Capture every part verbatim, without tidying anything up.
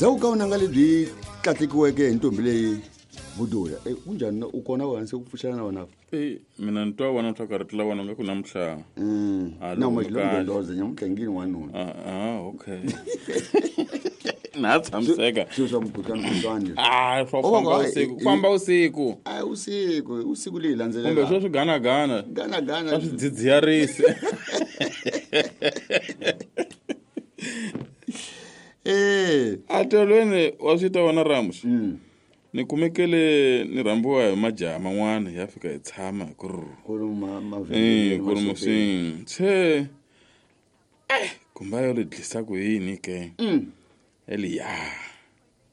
Ndzhaku ka vunanga lebyi tlatlekiweke hi ntombi leyi Budula. Eh kunjani u kona wena se ku pfuxela na wena? Eh mina ni twa wona swa karhi la wona nga ku namuhla. Mm. Na mo xilondoloza nyamutlangini wanuna. Ah ah okay. Na tshamiseka. Swi swa mukhuhlwani mukhuhlwani. Ah swa famba usiku. Famba usiku. Ah usiku, usiku leyi landzelela. Kumbe swo swi gana gana. Gana gana. Swa swidzidziharisi. Eh, atolweni wa swi ta wona Ramos. Mm. Ni kumekele ni rhambiwa hi majaha man'wana ya fika hi tshama ku ri ku ri ma ma eh ku ri musin se eh kumba yo ri dlisa ku yini ke mm eliya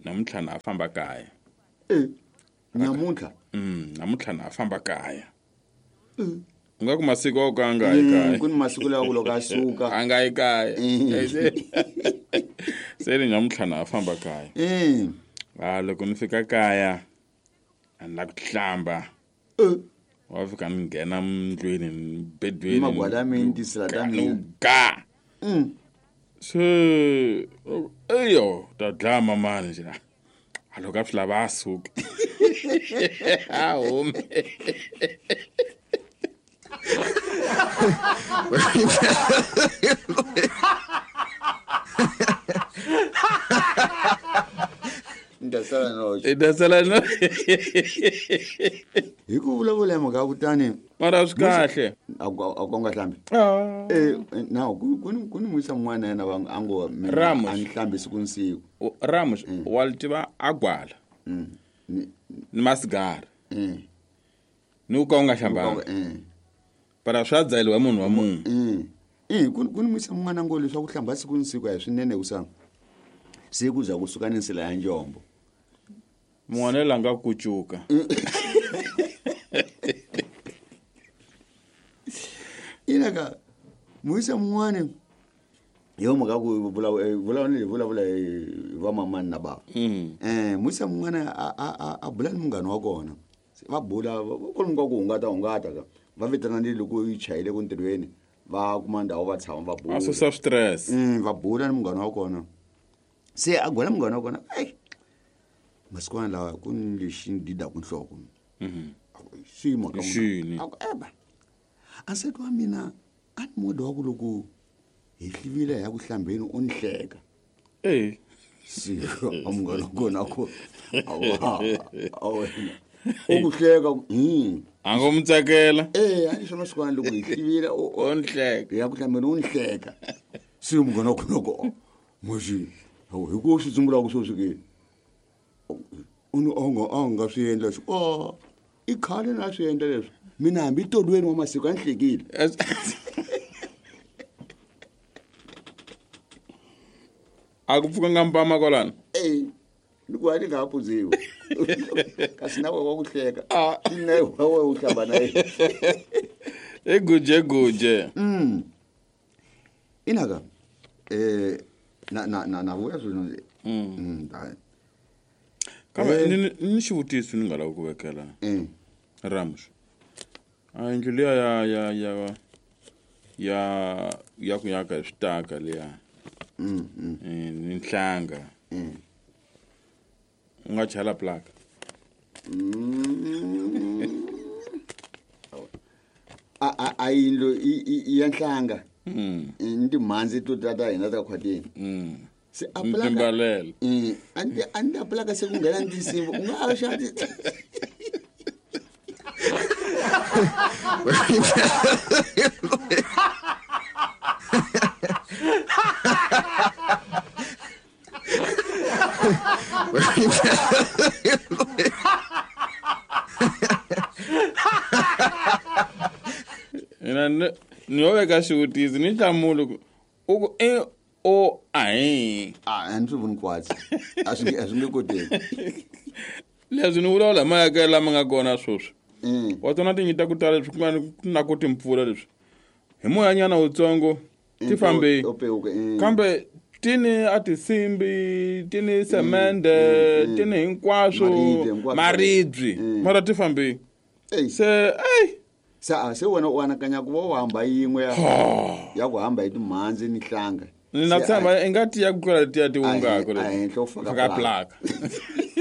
namuntlha na famba kaya eh namuntlha mm namuntlha na famba kaya mm u nga ku masiku o ka nga yi kaya ku ni masiku lawa ku loko a suka a nga yi kaya se ni namuntlha na famba kaya eh ah loko ni fika kaya a ni la ku hlamba eh wa fika ni nghena ndlwini bedweni magwala mina tisila ta mina ga mm se eyo ta dlaya mamani nje a loko a swi lava a suka a hume Ndasala no. Ndasala no. Hi ku vulavula hi mhaka kutani mara swi kahle a ku nga hlambi ah eh na ku ku ni ku ni muisa n'wana yena va a ngo Ramos a ni hlambi siku ni siku Ramos wa li tiva a gwala mm ni masigara mm ni ku ka u nga hlambanga mm para swa dzayeliwa munhu wa munhu mm eh ku ku ni muisa n'wana ngo leswaku hlamba siku ni siku a hi swinene ku sa siku za kusuka ni nsila ya njombo mun'wana la nga kucuka inaka muisa mun'wani yo mhaka ku vulavula ni vulavula hi vamamani na bava mm eh muisa mun'wana a a a bula ni munghana wa kona va bula kwalomu ka ku hungata hungata ka va vitana ni loko yi chayile ku ntirhweni va kuma ndhawu va tshama va bula a susa stress mm va bula ni munghana wa kona se a gwela munghana wa kona ei masikwana lawa ku ni lexi ni didaku nhloko mhm swi mhaka Xini? a ku eba a nsati wa mina a ni moda wa ku loko hi hlivile hi ya ku hlambeni u ni hleka eh se a munghana wa kona ku awa a wena u ku hleka hmm a ngo mu tsakela eh a ni swa masikwana loko hi hlivile u o ni hleka hi ya ku hlambeni u ni hleka se munghana wa kona ku moxi hi ku swi tsumbulaka sweswi ke u ni a nga a nga swi endla swi o i khale na swi endla leswi mina hambi tolweni wa masiku a ni hlekile a ku pfukanga mpama kwalano e ni ku a ni nga ha phuziwi kasi na we wa ku hleka na we u hlamba na yena i guje guje mm inaka eh na na na na vuya swilo mm kambe ni ni xivutiso ni nga lava ku vekela mm Ramos a yindlu liya ya ya ya ya ya ku yaka hi switaka liya mm mm eh, ni nhlanga mm u nga chala plaka a a a yindlu i- i i ya nhlanga mm ni timhandzi to ta ta hina ta khwatini mm se a plaka timbalele Mm, a ni a ni ta plaka se ku nghena ni tinsimbi u nga ha xa ti mina ni ni yo veka xivutiso ni hlamuli ku u ku e o ahi a a ni swi voni kwatsi a swi nge a swi nge koteki leswi ni vulavula hi mayakelo lama nga kona sweswi Mm. wa tona tinyi ta ku tala leswi ku nga ni- na ku timpfula leswi hi moyanyana wutsongo ti fambe To pewuka, mm. kambe tini a tinsimbi tini semende tini hinkwaswo Maribye, hinkwaswo. maribye Mm. mara ti fambi Ey, se ey se a se wena u anakanya ku va u hamba yin'we ya ya ku hamba hi timhandzi ni hlanga Ni na Se tshemba i nga tiya ku tlula letiya ti A hi- wungako a henhla u faka faka plaka. plaka.